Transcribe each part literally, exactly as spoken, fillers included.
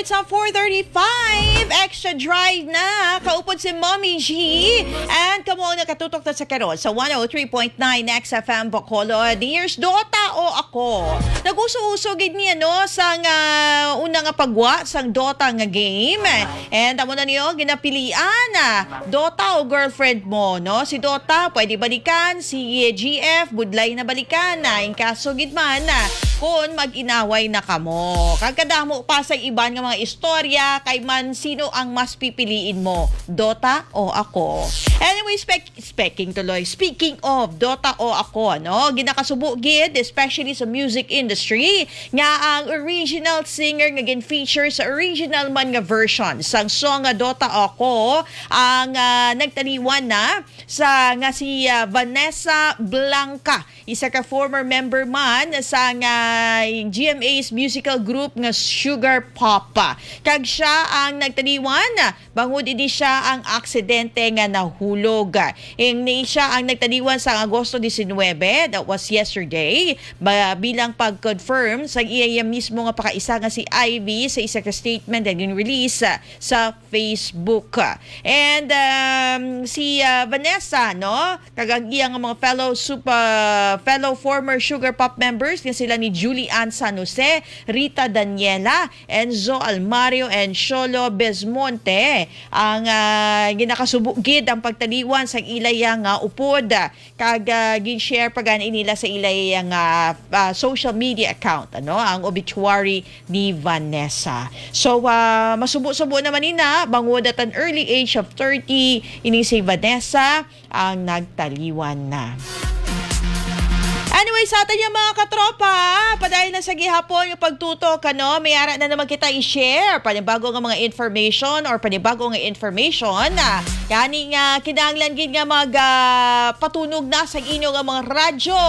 It's a four thirty-five. Extra Drive na. Kaupod si Mommy G. And kamo ang nakatutok na sa karon sa one oh three point nine X F M Bacolod. Here's Dota o Ako. Nag-uso-uso gid niya, no, sang, ah, una nga pagwa sang Dota nga game. And amo na niyo ginapilian, ah, Dota o girlfriend mo, no? Si Dota, pwede balikan. Si G F, budlay na balikan na. In kaso gid man, ah, kung mag-inaway na kamo. Kag kadamo pa sa iban nga mga istorya, kay man sino ang mas pipiliin mo, Dota o Ako? Anyway, spec-, speaking tuloy, speaking of Dota o Ako, no? Ginakasubo gid, especially sa music industry, nga ang original singer nga gin-feature sa original man nga version sang song nga Dota o Ako ang, ah, nagtaliwan na sa, nga si, ah, Vanessa Blanca, isa ka former member man sang, ah, G M A's musical group nga Sugar Pop. Kag siya ang nagtaliwan bangod ini siya ang aksidente nga nahulog. Ini siya ang nagtaliwan sang Agosto diecinuebe, that was yesterday, ba, bilang pag-confirm sang iya mismo nga pakaisa nga si Ivy sa isa ka statement nga gin-release sa Facebook. And, um, si, ah, Vanessa, no, kag ang iya nga mga fellow sup-, ah, fellow former Sugar Pop members nga sila ni Julie Ann San Jose, Rita Daniela, Enzo Almario, and Sholo Besmonte, ang, ah, ginakasubo gid ang pagtaliwan sang ilaya nga upod. Kag, ah, gin-share pa gani nila sa ilaya nga, ah, social media account, ano, ang obituary ni Vanessa. So, ah, masubo-subo naman ina, bangod at an early age of thirty, ini si Vanessa ang nagtaliwan na. Anyway, sa aton nga mga katropa, padayon na sa gihapon nga pagtutok, ano, may ara na naman kita i-share panibago nga mga information or panibago nga information, ah, gani nga kinahanglan gid nga mag, ah, patunog na sa inyo nga mga radyo.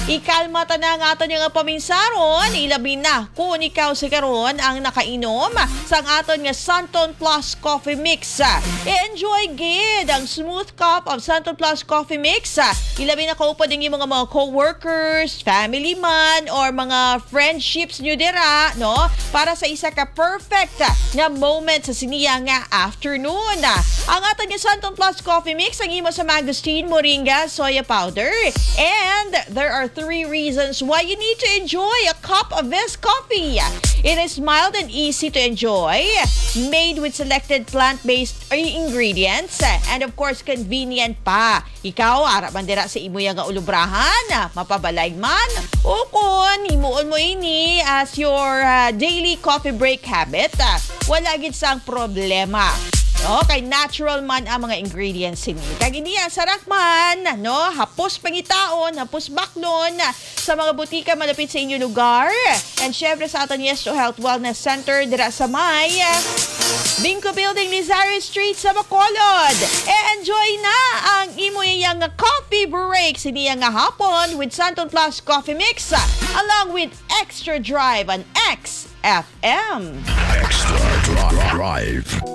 Ikalma ta na nga aton nga paminsaron, ilabi na kung ikaw sa karon ang nakainom sang aton nga Santon Plus Coffee Mix. I-enjoy gid ang smooth cup of Santon Plus Coffee Mix. Ilabi na kaupod ang imong mga co-workers, family man, or mga friendships nyo dira, no? Para sa isa ka perfect nga moment sa siniya nga afternoon. Ang aton nga Santon Plus Coffee Mix ang imo sa mangosteen, moringa, soya powder. And there are three reasons why you need to enjoy a cup of this coffee. It is mild and easy to enjoy, made with selected plant-based ingredients, and of course, convenient pa. Ikaw, ara man dira sa imo nga ulubrahan, ah, mapabalay man, o kon himuon mo ini as your, ah, daily coffee break habit, ah, wala gid sang problema. No? Kay natural man ang mga ingredients sini. Kag ini ang sarak man, no? Hapos pangitaon, hapos baklon, sa mga butika malapit sa inyo lugar. And syempre sa aton Yes to Health Wellness Center dira sa may Binco Building, Lizario Street sa Bacolod. E-enjoy na ang imo iya nga coffee break siniya nga hapon with Santon Plus Coffee Mix, along with Extra Drive on X F M. Extra Drive.